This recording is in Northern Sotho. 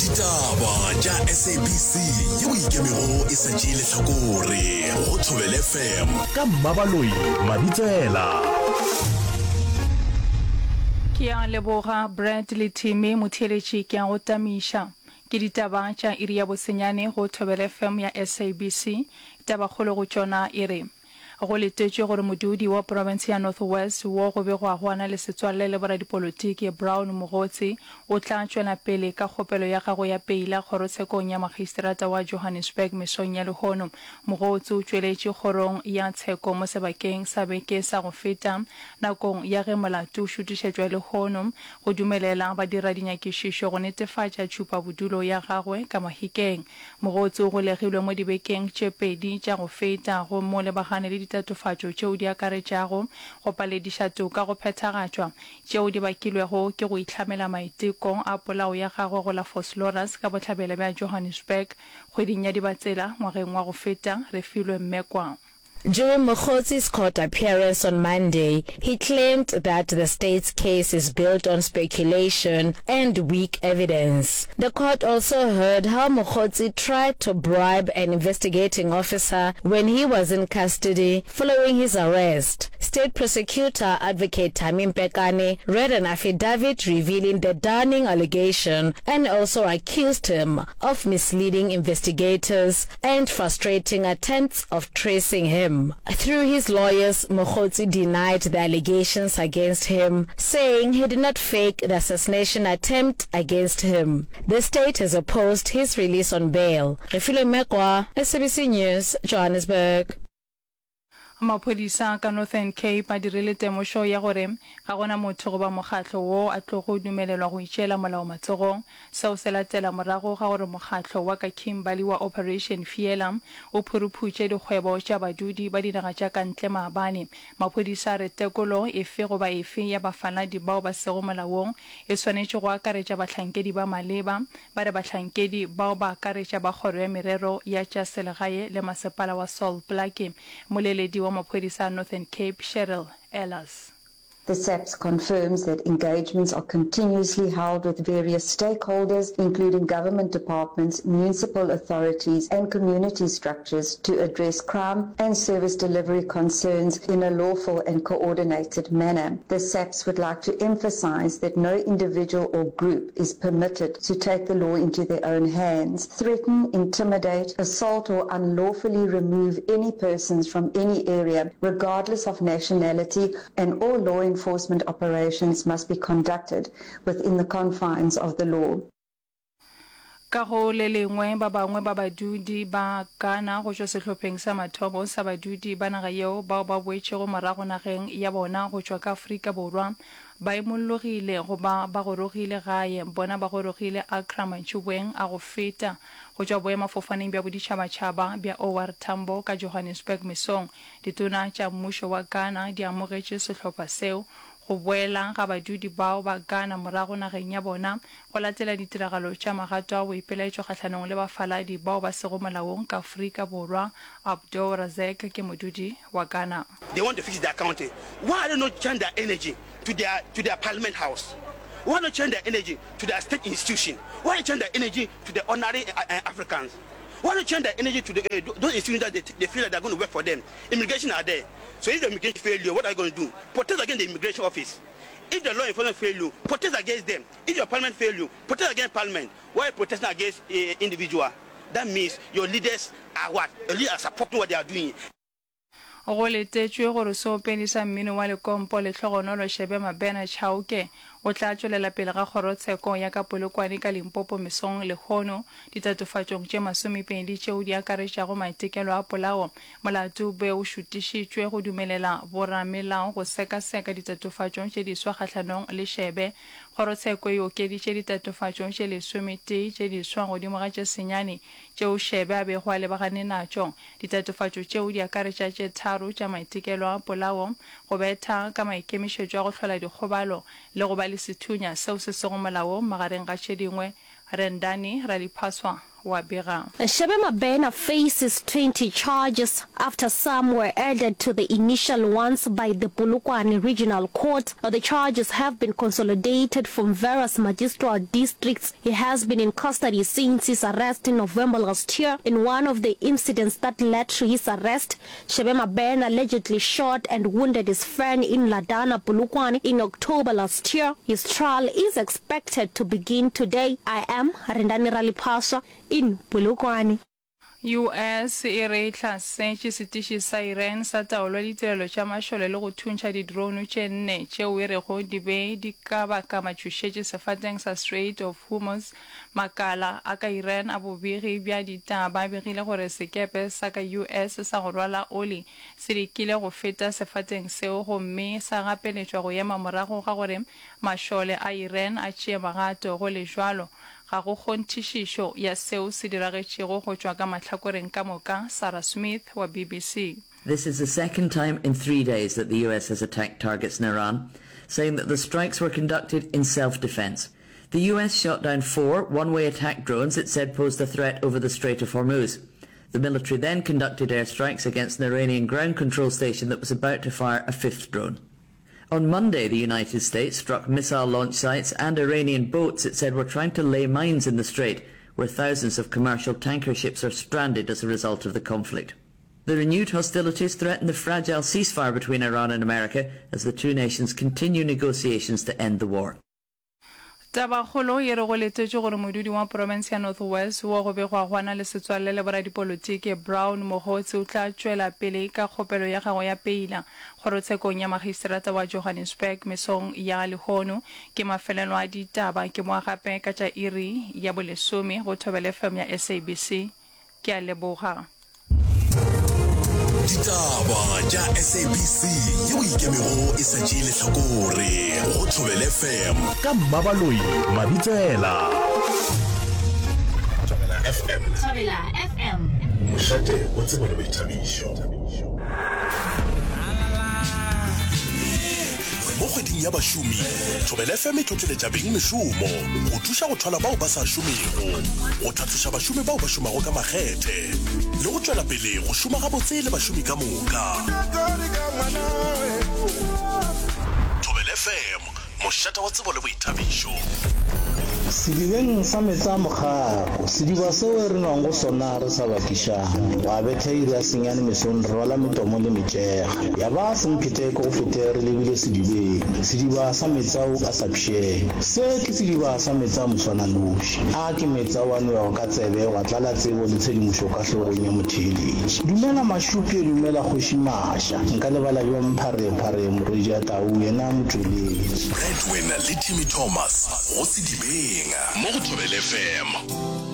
Ditaba tša SABC yeo e ikemego e sa tšee lehlakore go Thobela FM ka Mmabaloi Mabitsela. Ke a leboga Brad le Timmy, motheeletši ke a go tamiša. Ke ditaba tša iri ya bosenyane go Thobela FM ya SABC. Tabakgolo go tšona e re. Go letetšwe gore modudi wa profense ya North West wo go begwago a na le setswalle le boradipolotiki Brown Mogotsi o tla tšwela pele ka kgopelo ya gagwe ya peila kgorotshekong ya magistrata wa Johannesburg mesong ya lehono. Mogotsi o tšweletše kgorong ya tsheko mo sebakeng sa beke sa go feta nakong ya ge molato o šutišetšwa lehono go dumelela badiradinyakišišo go netefatša tšhupabodulo ya gagwe ka Mahikeng. Mogotsi o golegilwe mo dibekeng tše pedi tša go feta gomme o lebagane le ditatofatšo tšeo di akaretšago go palediša toka go phethagatšwa, tšeo di bakilwego ke go ihlamela maiteko a polao ya gagwe go la Vosloorus ka bohlabela bja Johannesburg kgweding ya Dibatsela ngwageng wa go feta, Refilwe Mmekwa. During Mogotsi's court appearance on Monday, he claimed that the state's case is built on speculation and weak evidence. The court also heard how Mogotsi tried to bribe an investigating officer when he was in custody following his arrest. State prosecutor advocate Thami Mpekane read an affidavit revealing the damning allegation and also accused him of misleading investigators and frustrating attempts of tracing him. Through his lawyers, Mogotsi denied the allegations against him, saying he did not fake the assassination attempt against him. The state has opposed his release on bail. Refilwe Mekwa, SABC News, Johannesburg. Maphodisa ka Northern Cape a dirile temošo ya gore ga go na motho goba mokgatlo wo a tlogo dumelelwa go itšeela molao matsogong. Seo se latela morago ga gore mokgatlo wa ka Kimberley wa Operation Fiela o phuruphutše dikgwebo tša badudi ba dinaga tša ka ntle maabane. Maphodisa a re tekolo efe goba efe ya bafaladi bao ba sego molaong e swanetše go akaretša bahlankedi ba maleba Ba re bahlankedi bao ba akaretša ba Kgoro ya Merero ya tša Selegae le Masepala wa Sol Plaatje, moleledi wa maphodisa a Northern Cape Cheryl Ehlers. The SAPS confirms that engagements are continuously held with various stakeholders, including government departments, municipal authorities and community structures to address crime and service delivery concerns in a lawful and coordinated manner. The SAPS would like to emphasise that no individual or group is permitted to take the law into their own hands, threaten, intimidate, assault or unlawfully remove any persons from any area, regardless of nationality, and all law enforcement operations must be conducted within the confines of the law. Ka go le lengwe, ba bangwe ba badudi ba Ghana go tšwa sehlopheng sa mathomo sa badudi ba naga yeo bao ba boetšego morago nageng ya bona go tšwa ka Afrika Borwa ba imollogile goba ba gorogile gae. Bona ba gorogile Accra mantšiboeng a go feta go tšwa boemafofaneng bja boditšhabatšhaba bja OR Tambo ka Johannesburg mesong. Ditona tša mmušo wa Ghana di amogetše sehlopha seo. Go boela ga badudi bao ba Ghana morago nageng ya bona Go latela ditiragalo tša magato a boipelaetšo kgahlanong le bafaladi bao ba sego molaong ka Afrika Borwa, Abdou Razek ke modudi wa Ghana. They want to fix their country why are they not channel their energy to their to their parliament house why not channel their energy to their state institution why not channel their energy to the ordinary Africans why not channel their energy to the uh, those institutions that they, they feel that they're going to work for them immigration are there so if the immigration fail you what are you going to do protest against the immigration office if the law enforcement fail you protest against them if your parliament fail you protest against parliament why protesting against uh, individual that means your leaders are what your leaders are supporting what they are doing Go letetšwe gore seopedi sa mmino wa lekompo Lehlogonolo Shebe Mabena Chauke o tla tšwelela pele ga kgorotsheko ya ka Polokwane ka Limpopo mesong lehono ditatofatšong tše masomepedi tšeo di akaretšago maitekelo a polao Molato o be o šutišitšwe go dumelela boramelao go sekaseka ditatofatšo tše diswa kgahlanong le Shebe. Kgorotsheko e okeditše ditatofatšo tše lesometee tše diswa godimo ga tše senyane tšeo Shebe a bego a lebagane natšo. Ditatofatšo tšeo di akaretša tše tharo tša maitekelo a polao, go betha ka maikemišetšo a go hlola dikgobalo le go ba le sethunya seo se sego molaong magareng ga tše dingwe. Rendani Raliphaswa wa bega. Shebe Mabena faces 20 charges after some were added to the initial ones by the Polokwane Regional Court. The charges have been consolidated from various magisterial districts. He has been in custody since his arrest in November last year. In one of the incidents that led to his arrest, Shebe Mabena allegedly shot and wounded his friend in Ladana, Polokwane in October last year. His trial is expected to begin today. I am Rendani Raliphaswa in Polokwane. US e re e hlasetše setiši sa Iran sa taolo ya ditirelo tša mašole le go thuntšha di-drone tše nne tšeo e rego di be di ka baka matšhošetši sefateng sa Strait of Hormuz. Makala a ka Iran a bobegi bja ditaba a begile gore sekepe sa ka US sa go rwala oli se lekile go feta sefateng seo gomme sa gapeletšwa go ema morago ga gore mašole a Iran a tšee magato. Go le bjalo, Ga go kgonthišišo ya seo se diragetšego go tšwa ka mahlakoreng ka moka, Sarah Smith wa BBC. This is the second time in three days that the US has attacked targets in Iran, saying that the strikes were conducted in self-defense. The US shot down four one-way attack drones it said posed a threat over the Strait of Hormuz. The military then conducted airstrikes against an Iranian ground control station that was about to fire a fifth drone. On Monday, the United States struck missile launch sites and Iranian boats it said were trying to lay mines in the strait, where thousands of commercial tanker ships are stranded as a result of the conflict. The renewed hostilities threaten the fragile ceasefire between Iran and America as the two nations continue negotiations to end the war. Tabakgolo ye re go letetšwe gore modudi wa profense ya North West wo go begwago a na le setswalle le boradipolotiki Brown Mogotsi o tla tšwela pele ka kgopelo ya gagwe ya peila kgorotshekong ya magistrata wa Johannesburg mesong ya lehono. Ke mafelelo a ditaba ke boa gape ka tša iri ya bolesome go Thobela FM ya SABC. Ke a leboga. Ditaba tša SABC yeo ikemego e sa tšee lehlakore go Thobela FM ka Mmabaloi Mabitsela. Thobela FM. Thobela FM. Mošate wa tsebo le boithabišo. Mo kgweding ya bašomi, Thobela FM e tlotleletša bengmešomo go thuša go thwala bao ba sa šomego, go tlhatloša bašomi bao ba šomago ka makgethe le go tšwela pele go šoma gabotse le bašomi ka moka. Thobela FM, mošate wa tsebo le boithabišo. Sedibeng sa meetse a mokgako, sediba seo re nwang go sona re sa bakišane. Gwa betha iri ya senyane mesong re rwala metomo le metšega. Ya ba semphete ke go fete re lebile sedibeng, sediba sa meetse ao a sa pšheng. Se ke sediba sa meetse a moswananoši. A ke meetse ao a nwewago ka tsebe gwa tlala tsebo le tshedimošo ka hlogong ya motheeletši. Dumela Mašupje, dumela Kgoši Maša. Nka lebala bjang Pharephare morwedi a tau yena motšweletši. Bradwin le Timmy Thomas go Sedibeng mo go Thobela FM.